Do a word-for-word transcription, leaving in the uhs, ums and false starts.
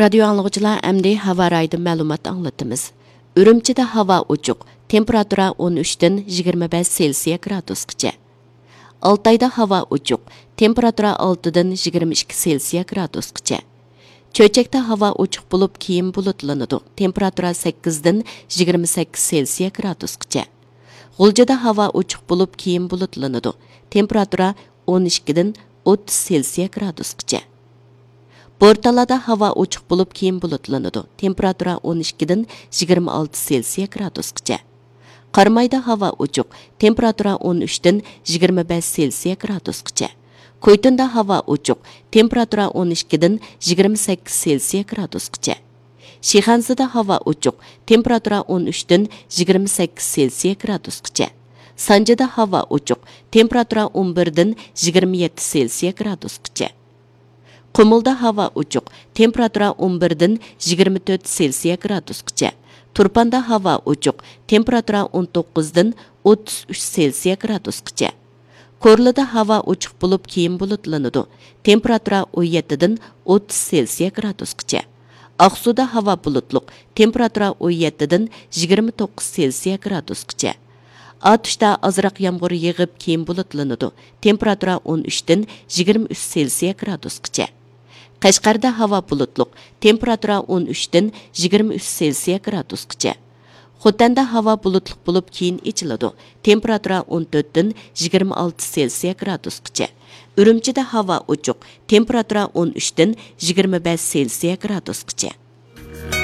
رادىيو ئاڭلىغۇچىلار، ئەمدى ھاۋا رايىدىن مەلۇمات ئاڭلىتىمىز. ئۈرۈمچىدە ھاۋا ئوچۇق، تېمپېراتۇرا ئون ئۈچتىن يىگىرمە بەش سېلسىيە گرادۇسقىچە. ئالتايدا ھاۋا ئوچۇق، تېمپېراتۇرا ئالتىدىن يىگىرمە ئىككى سېلسىيە گرادۇسقىچە. چۆچەكتە ھاۋا ئوچۇق بولۇپ، كېيىن بۇلۇتلىنىدۇ، تېمپېراتۇرا سەككىزدىن يىگىرمە سەككىز سېلسىيە گرادۇسقىچە. غۇلجىدا ھاۋا ئوچۇق بولۇپ، كېيىن بۇلۇتلىنىدۇ، تېمپېراتۇرا ئون ئىككىدىن ئوتتۇز سېلسىيە گرادۇسقىچە. بورتالادا ھاۋا ئوچۇق بولۇپ، كېيىن بۇلۇتلىنىدۇ، تېمپېراتۇرا ئون ئىككىدىن يىگىرمە ئالتە سېلسىيە گرادۇسقىچە. قارامايدا ھاۋا ئوچۇق، تېمپېراتۇرا ئون ئۈچتىن يىگىرمە بەش سېلسىيە گرادۇسقىچە. كويتۇندا ھاۋا ئوچۇق، تېمپېراتۇرا ئون ئىككىدىن يىگىرمە سەككىز سېلسىيە گرادۇسقىچە. شىخەنزىدە ھاۋا ئوچۇق، تېمپېراتۇرا ئون ئۈچتىن يىگىرمە سەككىز سېلسىيە گرادۇسقىچە. سانجىدا ھاۋا ئوچۇق، تېمپېراتۇرا ئون بىردىن يىگىرمە يەتتە سېلسىيە گرادۇسقىچە. قۇمۇلدا ھاۋا ئوچۇق، تېمپېراتۇرا ئون بىردىن يىگىرمە تۆت سېلسىيە گرادۇسقىچە. تۇرپاندا ھاۋا ئوچۇق، تېمپېراتۇرا ئون توققۇزدىن ئوتتۇز ئۈچ سېلسىيە گرادۇسقىچە. كورلىدا ھاۋا ئوچۇق بولۇپ، كېيىن بۇلۇتلىنىدۇ، تېمپېراتۇرا ئون يەتتىدىن ئوتتۇز سېلسىيە گرادۇسقىچە. ئاقسۇدا ھاۋا بۇلۇتلۇق، تېمپېراتۇرا ئون يەتتىدىن يىگىرمە توققۇز سېلسىيە گرادۇسقىچە. ئاتۇشتا ئازراق يامغۇر يېغىپ، كېيىن بۇلۇتلىنىدۇ، تېمپېراتۇرا ئون ئۈچتىن يىگىرمە ئۈچ سېلسىيە گرادۇسقىچە. قەشقەردە ھاۋا بۇلۇتلۇق، تېمپېراتۇرا ئون ئۈچتىن يىگىرمە ئۈچ سېلسىيە گرادۇسقىچە. خوتەندە ھاۋا بۇلۇتلۇق بولۇپ، كېيىن ئېچىلىدۇ، تېمپېراتۇرا ئون تۆتتىن يىگىرمە ئالتە سېلسىيە گرادۇسقىچە. ئۈرۈمچىدە ھاۋا ئوچۇق، تېمپېراتۇرا ئون ئۈچتىن يىگىرمە بەش سېلسىيە گرادۇسقىچە.